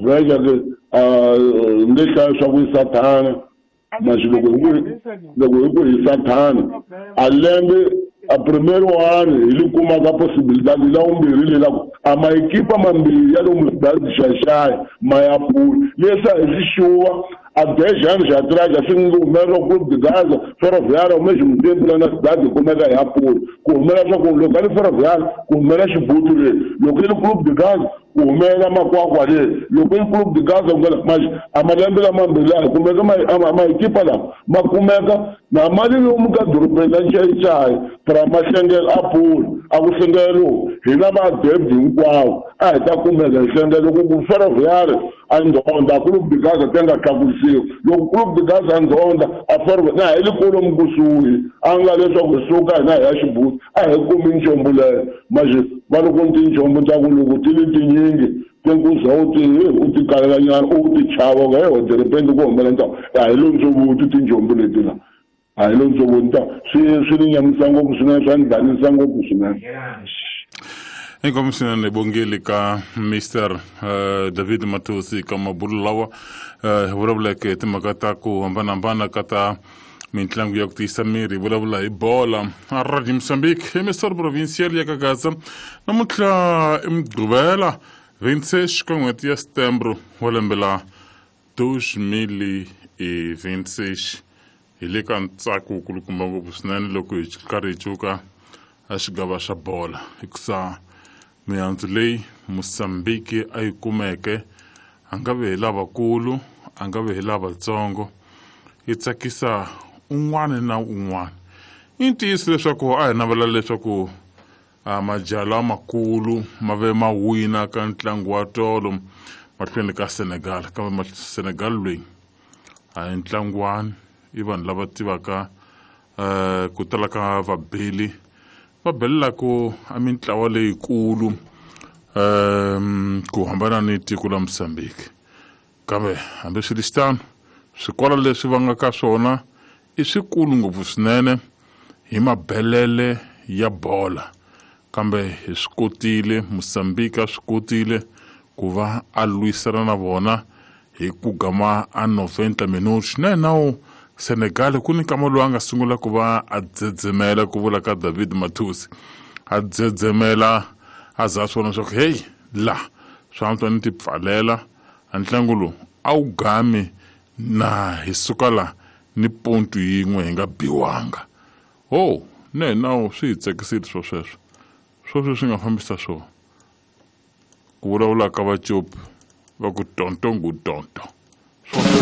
Veja que nge hlaya swa ku i sathana mas loko hi ku loko hi ku hi sathana a lembe a primeiro ano hi li kumaka possibilidade la vumbirhi le la ku a maekipa mambirhi ya lomu cidade Xaxai ma ya pula leswi a hi swi xuva a 10 anos atrás assim humelela Clube de Gaza Ferroviária ao mesmo tempo lá na cidade kumeka ya pula ku humelela swa ku loko a li Ferroviária ku humelela Xibutu le loko i li Clube de Gaza ku humelela Makwakwa le loko i Clube de Gaza ku mas a malembe lamambirhi laha kumeka maekipa lama ma kumeka na mali lomu ka dorobeni la Nxaxai para ma hlengela a pula a ku hlengelo hina va debit hinkwawo a hi ta kumeka hi hlengela loko ku Ferroviária a ndzonda Clube de Gaza ti nga tlakusiwi loko Clube de Gaza a ndzonda a Ferroviária na hi le kolomu kusuhi a nga leswaku hi suka hina hi ya Xibuti a hi kumi nchombo leyo manje va loko ni tinchombo ta ku loko ti li tinyingi tinkuza u ti u ti kalela nyana u ti chava nga he de ku humelela ntawo a hi lo ndzovuti tinchombo leti la a hi lo ndzovuti ta swi ni nyamisa ngopfu swinene swa ni danisa ngopfu swinene. Inkomu swinene bongeli ka Mr David Matosi ka mabulo lawa hi vulavuleke timhaka ta ku hambanahambana ka ta mintlangu ya ku tiyisa miri hi vulavula hi bola a Radio Mozambique emissora provincial ya Kagaza namuntlha i Mugqivela 26 ka n'hweti ya Setembro wa lembe la 2026 hi le ka ntsako wukulukumba ngopfu swinene loko hi karhi hi cuka a xigava xa bola hikusa mihandzu leyi Mozambique a yi kumeke a nga ve hi lavakulu a nga ve hi lavatsongo yi tsakisa un'wana na un'wana. I ntiyiso leswaku a hi navela leswaku majaha lamakulu ma ve ma wina ka ntlangu wa tolo mahlweni ka Senegal kambe Senegal loyi a hi ntlangwani i vanhu lava tivaka ku tala ka vabeli va belelaku a mintlawa leyikulu ku hambana ni tiko la Mozambique kambe hambi swi ri xitano swikolo leswi va nga ka swona i swikulu ngopfu swinene hi mabelele ya bola kambe hi swi kotile Mozambique a swi kotile ku va a lwisana na vona hi ku gama a 90 minutos na nawu Senegal ku ni nkama lowu a nga sungula ku va a dzedzemela ku vula ka David Matosi a dzedzemela a za swi vona leswaku heyi la swi antswa ni ti pfalela a ntlangu lowu a wu gami na hi suka la ni pontu yin'we hi nga biwanga ho ne nawu swi hi tsakisile swo sweswo swo swi nga fambisa swona ku vulavula ka vacopi va ku tonto ngu tonto.